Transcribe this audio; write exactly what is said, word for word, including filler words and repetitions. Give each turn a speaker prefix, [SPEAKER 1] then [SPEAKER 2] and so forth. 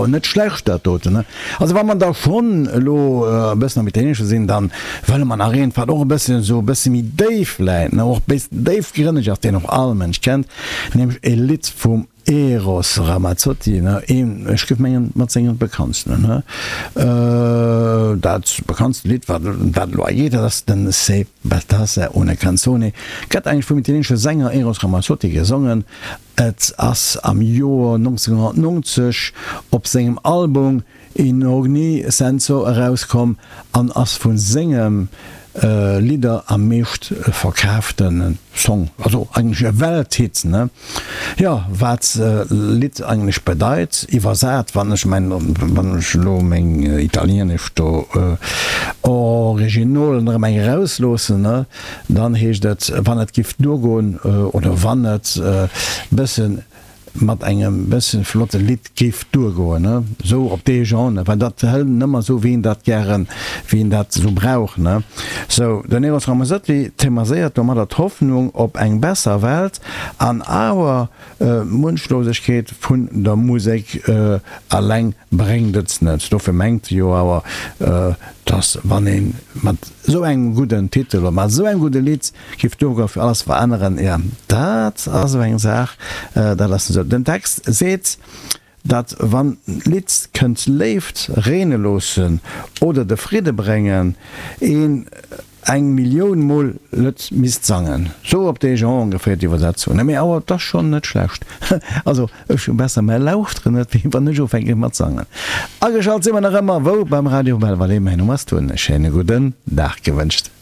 [SPEAKER 1] awer net schlecht dat doten, ne? Also wa mer da schonn elo e bëssen am Italienesche sinn, dann wëlle mer nach eent, wat och e bësschen esou e bësse méi déif läit, ne, och bëssen déifgrënneg ass, deen och all Mënsch kennt, nämlech e Lidd vum Eros Ramazzotti, ne, een, ech géif mengen, mat senge bekanntsten, ne. Dat bekanntste Lidd, wat wat elo hei geet, dat ass den Se bastasse una canzone, gëtt eigentlech vum italienesche Sänger Eros Ramazzotti gesongen. Et ass am Joer nonzénhonnertnonzeg op sengem Album In Ogni Senso erauskomm an ass vu senge Lidder am meescht verkaafte Song, also eigentlech e Welthit, ne? Jo, wat Lidd eigentlech bedeit, iwwersat, wann ech mäin, wann ech elo meng Italienesch do Originolen erëm eng erausloossen, ne, dann heescht et, wann et giff duergoen oder wann et bëssen mat engem bëssen flotte Lidd géif duergoen, ne, sou op dee Genre, ne, well dat hëlt en ëmmer sou wéi en dat gären, wéi en dat sou brauch, ne. Sou, den Eros Ramazzotti themaséiert domadder d'Hoffnung op eng besser Welt an awer d'Wunschlosegkeet vun der Musek eleng bréngt et net. Dofir mengt e jo awer, dass wann ee mat esou engem gudden Titel oder mat esou engem gudde Lidd giff duergoen fir alles veränneren, jo dat ass esou eng Saach, dat ass esou. Den Text seet, datt wann d'Lidd kënnt Léift reene loossen oder de Fridde bréngen, een eng Millioun mol net misst sangen. Sou op dee Genre ongeféier d'Iwwersetzung. Mee awer et ass schonn net schlecht. Also ech hu besser mä lauschteren net wéi wann ech ufänke mat sangen. Ageschalt si mer nach ëmmer wou? Beim Radio Belval. Mäin Numm ass Tun. E schéine gudden Dag gewënscht.